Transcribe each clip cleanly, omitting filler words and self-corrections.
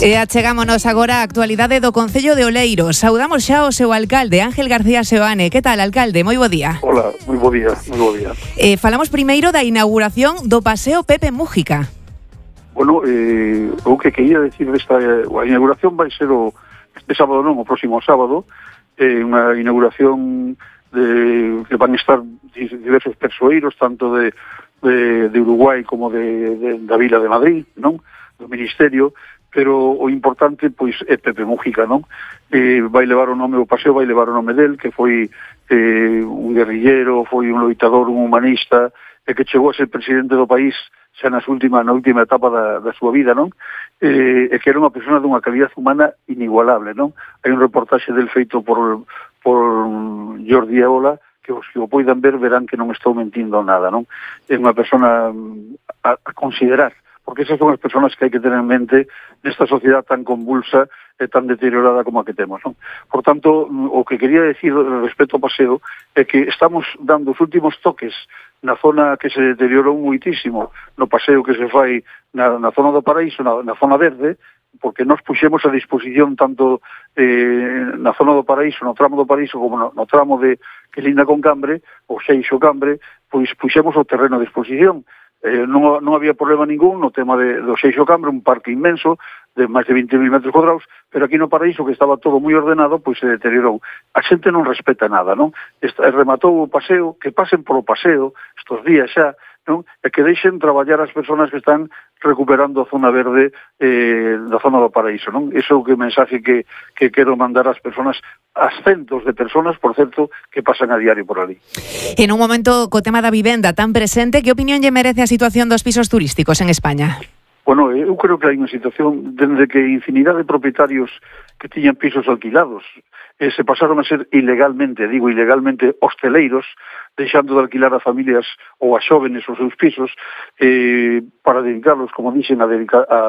E achegámonos agora á actualidade do Concello de Oleiros. Saudamos xa o seu alcalde, Ángel García Seoane. Que tal, alcalde? Moi bo día. Hola, moi bo día, moi bo día. Falamos primeiro da inauguración do Paseo Pepe Mújica. Bueno, o que quería decir desta a inauguración vai ser este sábado non, o próximo sábado, unha inauguración que van estar diversos persoeiros, tanto de Uruguai como da Vila de Madrid, non? Do Ministerio, pero o importante pois é Pepe Mújica, non? Vai levar o nome, o paseo vai levar o nome del, que foi un guerrillero, foi un loitador, un humanista, e que chegou a ser presidente do país xa na última etapa da súa vida, non? E que era unha persona dunha calidad humana inigualable, non? Hai un reportaxe del feito por Jordi Eola, que os que o poidan ver verán que non estou mentindo nada, non? É unha persona a considerar, porque esas son as persoas que hai que tener en mente nesta sociedade tan convulsa e tan deteriorada como a que temos, non? Por tanto, o que quería decir respecto ao paseo é que estamos dando os últimos toques na zona que se deteriorou muitísimo, no paseo que se fai na zona do Paraíso, na zona verde, porque nos puxemos a disposición tanto na zona do Paraíso, no tramo do Paraíso, como no tramo que linda con Cambre, o Xeixo Cambre, pois puxemos o terreno a disposición. Non había problema ningún no tema do Xeixo Cambre, un parque inmenso de máis de 20.000 metros cuadrados, pero aquí no Paraíso, que estaba todo moi ordenado, pois se deteriorou. A xente non respeta nada, non? Rematou o paseo, que pasen polo paseo estos días xa, non? E que deixen traballar as persoas que están recuperando a zona verde da zona do Paraíso, non? Iso é o mensaje que quero mandar ás persoas, ás centos de persoas, por certo, que pasan a diario por ali. En un momento co tema da vivenda tan presente, que opinión lle merece a situación dos pisos turísticos en España? Bueno, eu creo que hai unha situación dende que infinidade de propietarios que tiñan pisos alquilados se pasaron a ser ilegalmente hosteleiros, deixando de alquilar a familias ou a xóvenes os seus pisos para dedicarlos, como dixen, a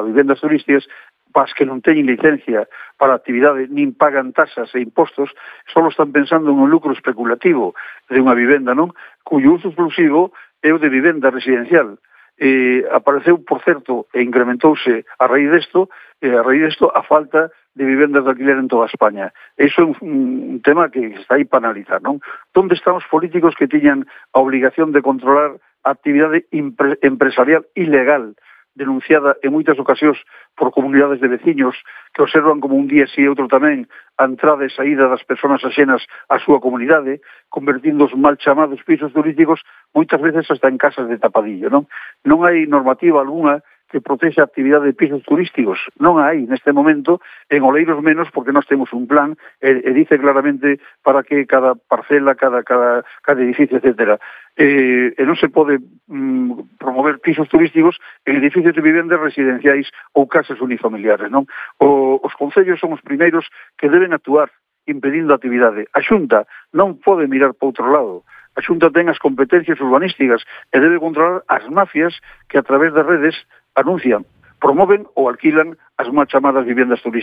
vivendas turísticas, pas que non teñen licencia para a actividade, nin pagan tasas e impostos, só están pensando en un lucro especulativo de unha vivenda, non? Cuyo uso exclusivo é o de vivenda residencial. Apareceu, por certo, e incrementouse a raíz desto a falta de vivendas de alquiler en toda España. Iso é un tema que está aí para analizar, non? Onde están os políticos que tiñan a obligación de controlar a actividade empresarial ilegal, denunciada en moitas ocasións por comunidades de veciños que observan como un día sí e outro tamén a entrada e saída das persoas axenas á súa comunidade, convertindo os mal chamados pisos turísticos moitas veces hasta en casas de tapadillo, non? Non hai normativa algunha que protexe a actividade de pisos turísticos. Non hai neste momento, en Oleiros menos, porque nós temos un plan e dice claramente para que cada parcela, cada edificio, etcétera. E non se pode promover pisos turísticos en edificios de vivendas residenciais ou casas unifamiliares, non? Os concellos son os primeiros que deben actuar impedindo a actividade. A Xunta non pode mirar para outro lado. A Xunta ten as competencias urbanísticas e debe controlar as mafias que a través das redes anuncian, promoven ou alquilan as mal chamadas vivendas turísticas.